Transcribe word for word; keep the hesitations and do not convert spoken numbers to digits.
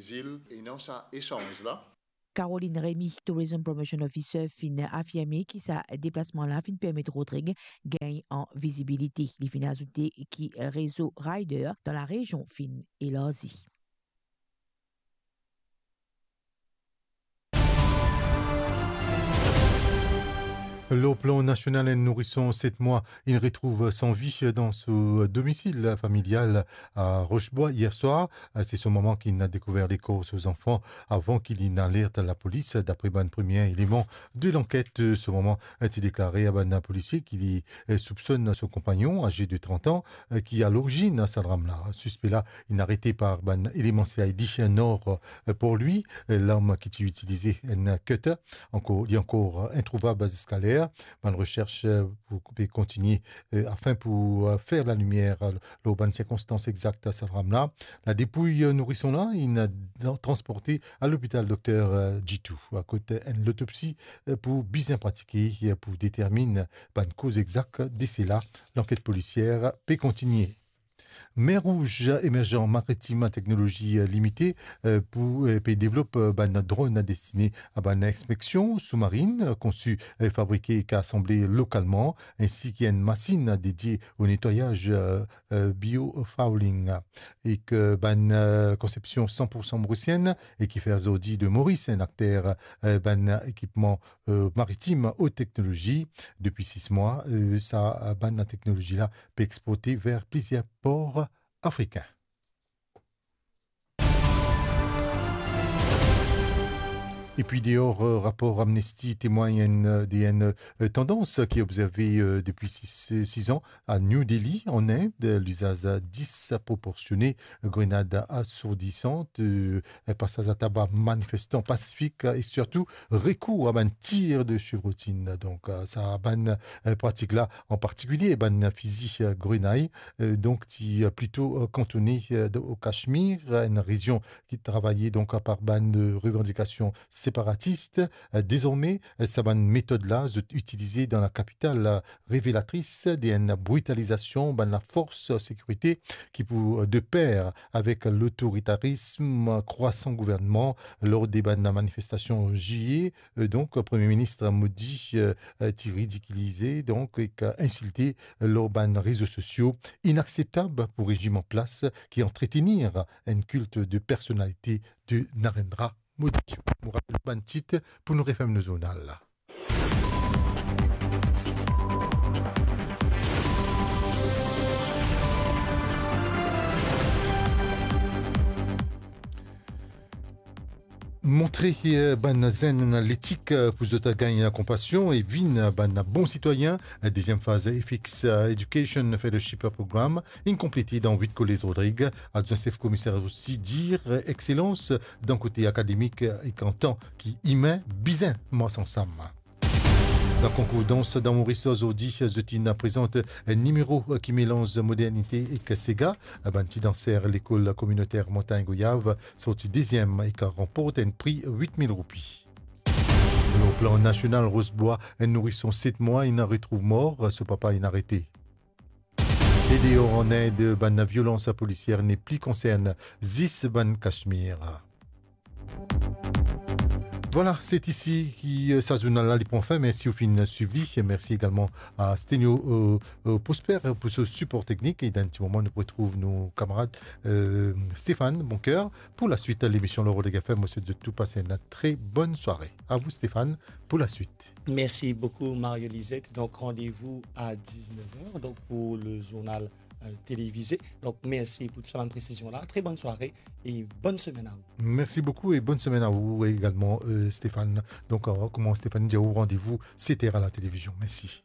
Zil, e non sa esanz la. Caroline Remy, Tourism Promotion Officer, finn afirme ki sa deplasman la finn permet Rodrigue gagn an vizibilite. Li finn azoute ki rezo rider dan larezion finn elarzi. Lor plan nasional, enn nourison set mwa inn retrouv san vi dan so domisil familial a Rochebwa yer swar. Se so mama ki'nn dekouver lekor so zanfan avan ki li'nn alert lapolis. Dapre bann premie eleman de lanket, so mama ti deklare a bann polisie ki li soupsonn so konpagnon, aze de trant an, ki a lorizinn sa dram la. Sispe la inn arete par bann eleman C I D Nord Port-Louis. Larm ki ti itilize, enn cutter, ankor, li ankor introuvab ziska ler. Bann resers pou, pou kontigne, eh, afin pou, eh, fer lalimier, eh, lor bann sirkonstans exakt sa dram la. Ladepouy, eh, nourison la inn transporte a lopital Dokter, eh, Djitou, kot enn lotopsi, eh, pou bizin pratike, eh, pou determinn bann koz exakt dese la. Lanket polisier pe kontigne. Mer Rouge Émergent Maritime Technologie Limité, eh, pou, eh, pe devlop, eh, bann dronn destine a bann inspeksion soumarinn, eh, konsi, eh, fabrike ek asanble lokalman, ensi ki enn masinn dedie o netwayaz, eh, eh, biofouling, ek bann, eh, konsepsion san pou san morisienn, e ki fer zordi de Moris enn akter, eh, bann ekipman, eh, maritim ot teknolozi. Depi sis mwa, eh, sa, eh, bann teknolozi la pe exporte ver plizier por afrikin. Epi deor, eh, rapor Amnesty temwagn enn, eh, de enn, eh, tandans ki obzerve, eh, depi sis, eh, sis an a New Delhi, an Ind, eh, lizaz disproporsione, grenad asourdisant, eh, pasaz ataba manifestan pasifik, eh, e sirtou rekour a bann tir de chevrotine. Donk, eh, sa bann, eh, pratik la, an partikilie bann fizi, eh, grenay, eh, donk ti, eh, plito, eh, kantone, eh, o Kashmir, enn rezion ki travaye donk par bann, eh, revandikasion separatis. Eh, dezorme, eh, sa bann metod la, zot itilize dan lakapital, eh, revelatris de enn britalizasion bann lafors sekirite ki pou, eh, de per avek lotoritarism krwasan gouvernman lor de bann manifestasion ziye. Eh, donk, Premie Minis Modi, eh, eh, ti ridikilize, donk, ek, eh, insilte lor bann rezo sosio. Inakseptab pou rezim an plas ki antretenir enn kilt de personalite de Narendra Modi. Mo rapel bann tit pou nou referm nou zournal la. Montre, eh, bann zenn letik, eh, pou zot gagn konpasion e vinn bann bon sitwayin. Deziem faz Ethics, eh, Education Fellowship Program inn konplete dan wit kolez Rodrig. Adwin sef komiser osi dir, eh, excelans dan kote akademik, eh, ek an tan ki imin bizin mars ansam. Dan konkour dans dan Moris zordi, zot inn prezant enn nimero ki melanz modernite ek sega. Bann ti danser lekol kominoter Montagne Goyave sorti deziem ek ranport enn pri wit mil roupi. Lor plan nasional, Rochebwa, enn nourison set mwa inn retrouv mor, so papa inn arete. E deor an Ind, bann violans polisier nepli konsern zis bann Kashmir. Vwala, se isi ki, eh, sa zournal la li pran fin. Mersi ou finn swiv li. Mersi egalman a Stenio, eh, eh, Prosper pou so sipor teknik. E dan enn ti moman, nou pou retrouv nou kamarad, eh, Stéphane Boncoeur pou laswit lemision lor Rodrig F M. Mo swet zot tou pas enn tre bonn sware. A vou, Stéphane, pou laswit. Merci beaucoup, Mario Lisette. Donc, rendez-vous à dix-neuf heures, donc, pour le journal, euh, télévisé. Donc, merci pour tout ça, bonne précision là. Très bonne soirée et bonne semaine à vous. Mersi boukou e bonn semenn a ou egalman, eh, Stéphane. Donk, eh, kouma Stéphane dir, randevou set er a la televizion. Mersi.